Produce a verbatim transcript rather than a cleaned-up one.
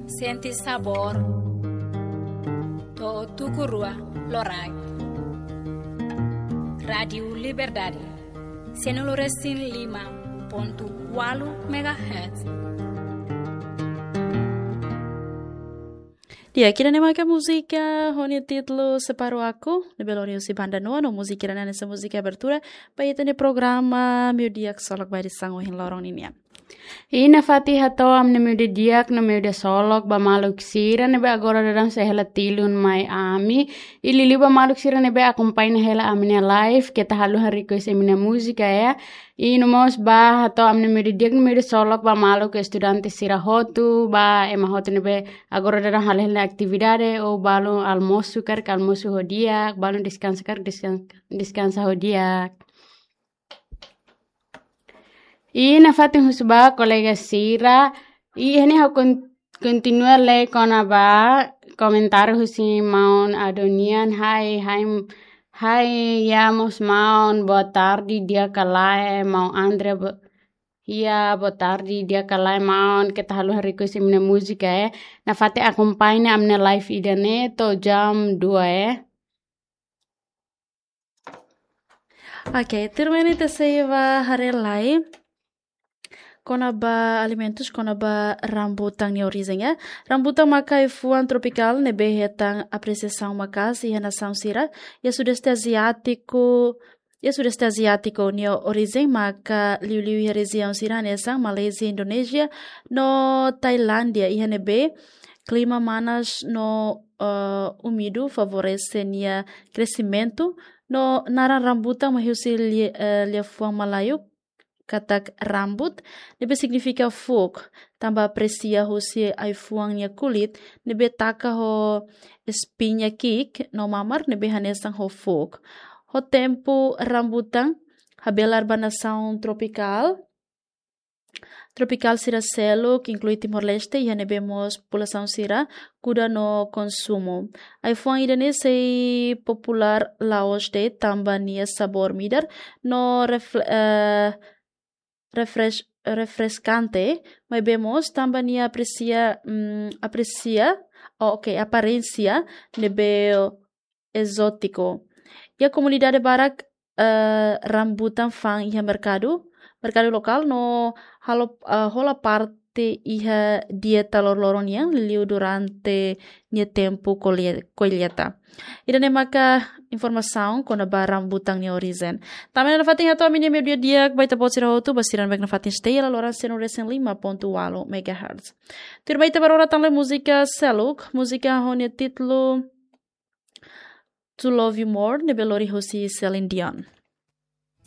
Sente sabór. To'o tuku rua loraik. Rádiu Liberdade. Sianulu resin lima pontu ualu megahertz. Di'ak, ida-ne'e maka múzika ho nia títulu Separa Aku, ne'ebé lori husi Banda Noa, no múzika ida-ne'e hanesan múzika abertura ba ita-nia programa Meiudia Ksolok ba edisaun ohin loron ninian. I nafatin hato'o ami-nia meiudia di'ak no meiudia ksolok ba maluk sira ne'ebé agora daudaun sei hela tilun mai ami. I liuliu ba maluk sira ne'ebé akompaña hela ami-nia live, keta haluha request imi-nia múzika, ya. I no mós ba hato'o ami-nia meiudia di'ak no meiudia ksolok ba maluk estudante sira hotu, ba ema hotu ne'ebé agora daudaun halo hela atividade, ou balu almosu, karik almosu ho di'ak, balu deskansa, karik deskan-, deskansa ho di'ak. I nafatin husu ba kolega sira, i iha ne'e ha'u kon-, kontinua lee kona-ba komentáriu husi maun Adonian, hai, hai, hai, ya mós maun, boa tarde, di'ak ka lae, maun André, bo-, ya, boa tarde, di'ak ka lae, maun, keta haluha request imi-nia múzika, eh. Nafatin akompaña ami-nia live ida-ne'e to'o jam dua, eh. Oke, tuirmai ne'e ita sei ba haree lai kona-ba alimentus, kona-ba rambutan nia orijen, ya. Rambutan maka ai-fuan tropikál ne'ebé hetan apresiasaun maka'as iha nasaun sira iha Sudeste Aziátiku, iha Sudeste Aziátiku. Nia orijen maka liuliu iha rejiaun sira hanesan Malázia, Indonézia no Tailándia, iha ne'ebé klima manas no, eh, úmidu favorese nia kresimentu. No naran rambutan mai husi li-, eh, liafuan Malayu katak rambut, ne'ebé signifika fuuk, tanba apresia husi ai-fuan nia kulit ne'ebé taka ho espiña ki'ik no mamar ne'ebé hanesan ho fuuk. Ho tempu rambutan habelar ba nasaun tropikál, tropikál sira seluk, inklui Timor-Leste, iha ne'ebé mós populasaun sira kuda no konsumu. Ai-fuan ida-ne'e sei populár la'ós de'it tanba nia sabór midar no refle-, eh, refresh-, refreskante, maibé mós tanba nia apresia, mm, apresia, oh, oke, aparénsia ne'ebé ezótiku. Iha komunidade barak, eh, rambutan fa'an iha merkadu, merkadu lokál no halo, eh, hola parte iha dieta loroloron nian liuliu durante nia tempu kolle-, kolleita. Ida-ne'e maka informasaun kona-ba rambutan nia orijen. Tanba ne'e nafatin hato'o ami-nia meiudia di'ak ba ita-boot sira hotu, ba sira ne'ebé nafatin stay iha laloran sianulu resin lima pontu ualu megahertz. Tuirmai ita ba rona tan lai múzika seluk, múzika ho nia títulu To Love You More, ne'ebé lori husi Celine Dion.